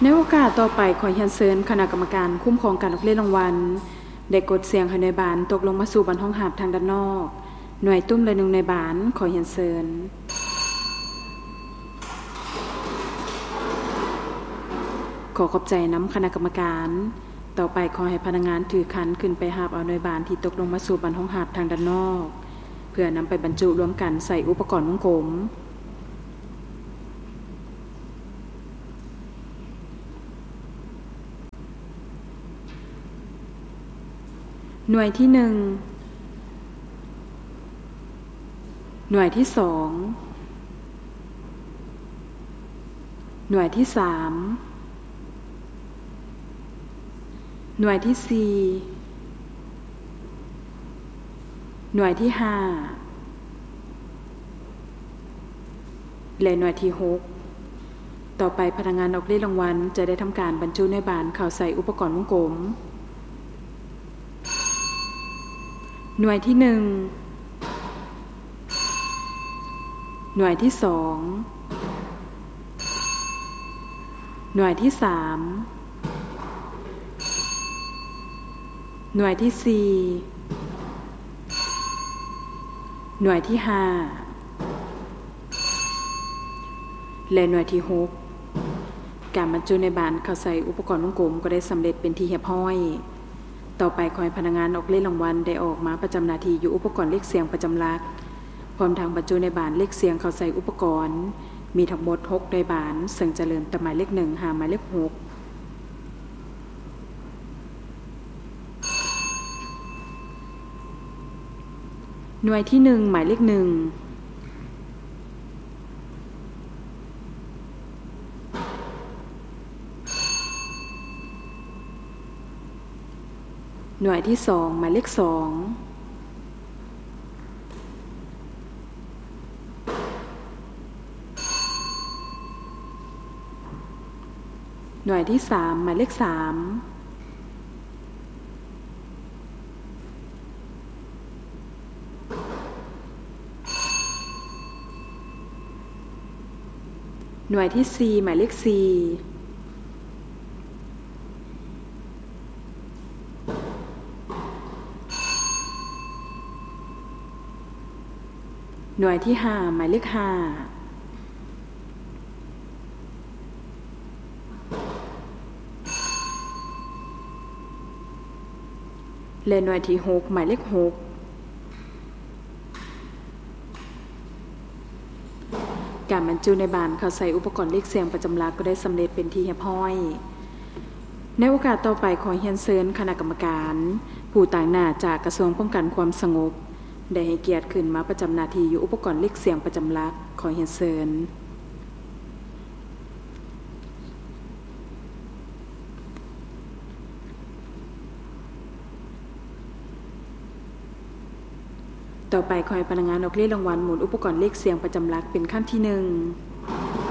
ໃນໂອກາດຕໍ່ໄປ, ຂໍຮຽນເຊີນຄະນະກຳມະການຄຸ້ມຄອງການອອກເລດລາງວັນ ໄດ້ກົດສ່ຽງໃຫ້ໜ່ວຍບານຕົກລົງມາສູ່ບ່ອນຮອງຮັບທາງດ້ານນອກ. ໜ່ວຍຕຸ້ມລະໜຶ່ງໜ່ວຍບານ, ຂໍຮຽນເຊີນ. ຂໍຂອບໃຈນຳຄະນະກຳມະການ. ຕໍ່ໄປ, ຂໍໃຫ້ພະນັກງານຖືຄັນຂຶ້ນໄປຮັບເອົາໜ່ວຍບານທີ່ຕົກລົງມາສູ່ບ່ອນຮອງຮັບທາງດ້ານນອກ ເພື່ອນຳໄປບັນຈຸລວມກັນໃສ່ອຸປະກອນວົງກົມ. ໜ່ວຍທີໜຶ່ງ, ໜ່ວຍທີສອງ, ໜ່ວຍທີສາມ, ໜ່ວຍທີສີ່, ໜ່ວຍທີຫ້າ ແລະ ໜ່ວຍທີຫົກ. ຕໍ່ໄປ, ພະນັກງານອອກເລດລາງວັນຈະໄດ້ທຳການບັນຈຸໜ່ວຍບານເຂົ້າໃສ່ອຸປະກອນວົງກົມ. ໜ່ວຍທີໜຶ່ງ, ໜ່ວຍທີສອງ, ໜ່ວຍທີສາມ, ໜ່ວຍທີສີ່, ໜ່ວຍທີຫ້າ ແລະ ໜ່ວຍທີຫົກ. ການບັນຈຸໜ່ວຍບານເຂົ້າໃສ່ອຸປະກອນວົງກົມກໍໄດ້ສຳເລັດເປັນທີ່ຮຽບຮ້ອຍ. ຕໍ່ໄປ, ຂໍໃຫ້ພະນັກງານອອກເລດລາງວັນໄດ້ອອກມາປະຈຳໜ້າທີ່ຢູ່ອຸປະກອນເລກສ່ຽງປະຈຳຫຼັກ, ພ້ອມທັງບັນຈຸໜ່ວຍບານເລກສ່ຽງເຂົ້າໃສ່ອຸປະກອນ. ມີທັງໝົດຫົກໜ່ວຍບານ, ເຊິ່ງຈະເລີ່ມແຕ່ໝາຍເລກໜຶ່ງຫາໝາຍເລກຫົກ. ໜ່ວຍທີໜຶ່ງ ໝາຍເລກໜຶ່ງ, ໜ່ວຍທີສອງ ໝາຍເລກສອງ, ໜ່ວຍທີສາມ ໝາຍເລກສາມ, ໜ່ວຍທີສີ່ ໝາຍເລກສີ່, ໜ່ວຍທີຫ້າ ໝາຍເລກຫ້າ ແລະ ໜ່ວຍທີຫົກ ໝາຍເລກຫົກ. ການບັນຈຸໜ່ວຍບານເຂົ້າໃສ່ອຸປະກອນເລກສ່ຽງປະຈຳຫຼັກກໍໄດ້ສຳເລັດເປັນທີ່ຮຽບຮ້ອຍ. ໃນໂອກາດຕໍ່ໄປ, ຂໍຮຽນເຊີນຄະນະກຳມະການຜູ້ຕາງໜ້າຈາກກະຊວງປ້ອງກັນຄວາມສະຫງົບ ໄດ້ໃຫ້ກຽດຂຶ້ນມາປະຈຳໜ້າທີ່ຢູ່ອຸປະກອນເລກສ່ຽງປະຈຳຫຼັກ. ຂໍຮຽນເຊີນ. ຕໍ່ໄປ, ຂໍໃຫ້ພະນັກງານອອກເລດລາງວັນໝູນອຸປະກອນເລກສ່ຽງປະຈຳຫຼັກເປັນຄັ້ງທີໜຶ່ງ.